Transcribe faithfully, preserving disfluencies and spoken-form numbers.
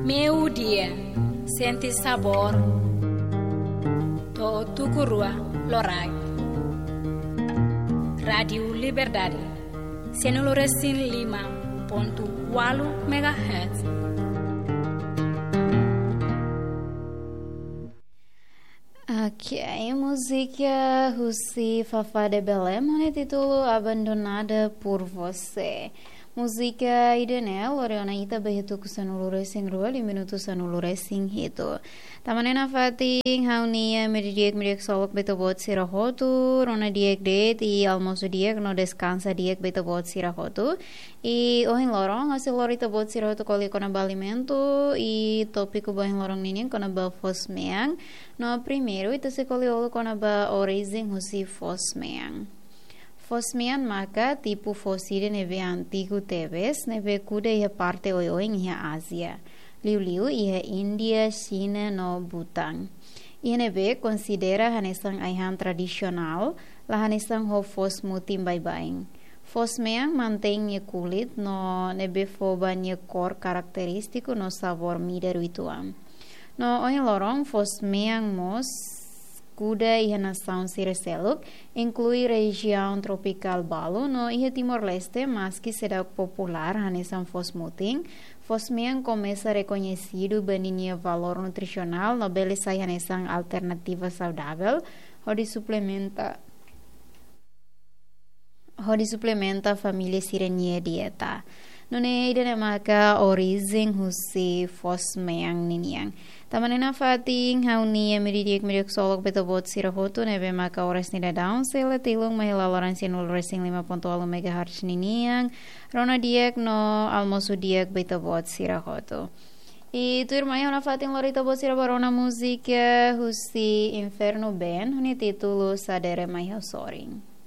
Meio-dia, sente sabor. To'o tuku rua loraik. Rádiu Liberdade, sanulu-resin-lima pontu ualu megahertz. Ok, múzika husi Fafá de Belém, ho nia títulu Abandonada por Você. Múzika ida-ne'e lori ona ita ba iha tuku sanulu-resin-rua, liu minutu sanulu-resin-hitu. Tanba ne'e nafatin ha'u-nia medio-dia, medio-dia ksolok ba ita-boot sira hotu, rona di'ak de'it i almosu di'ak no deskansa di'ak ba ita-boot sira hotu. I ohin loron, ha'u sei lori ita-boot sira hotu ko'alia kona-ba alimentu, i tópiku ba ohin loron ninian kona-ba foos-mean. No primeiru, ita sei ko'alia uluk kona-ba orijen husi foos-mean. Foos-mean maka tipu foos ida ne'ebé antigu tebes, ne'ebé kuda iha parte oioin iha Ázia. Liuliu iha Índia, Xina no Bután. Iha ne'ebé konsidera hanesan ai-han tradisionál, la hanesan ho foos mutin baibain. Foos-mean mantein nia kulit no ne'ebé fó ba nia kór karakterístiku no sabór midar uitoan. No ohin loron foos-mean mós kuda iha nasaun sira seluk, inklui rejiaun tropikál balu no iha Timor-Leste, maski seidauk populár hanesan foos mutin, foos-mean komesa rekoñesidu ba ninia valór nutrisionál no bele sai hanesan alternativa saudavel hodi suplementa, hodi suplementa família sira-nia dieta. Nune'e ida-ne'e maka orijen husi foos-mean ninian. Tanba ne'e nafatin ha'u-nia medio-dia, medio-dia ksolok ba ita-boot sira hotu, ne'ebé maka oras nia daudaun sei la tilun mai iha laloran sanulu-resin-lima pontu ualu megahertz ninian. Rona di'ak no almosu di'ak ba ita-boot sira hotu. I tuirmai ha'u nafatin lori ita-boot sira ba rona múzika husi Inferno Band, ho nia títulu Sadere Mai Ha'u Sorin.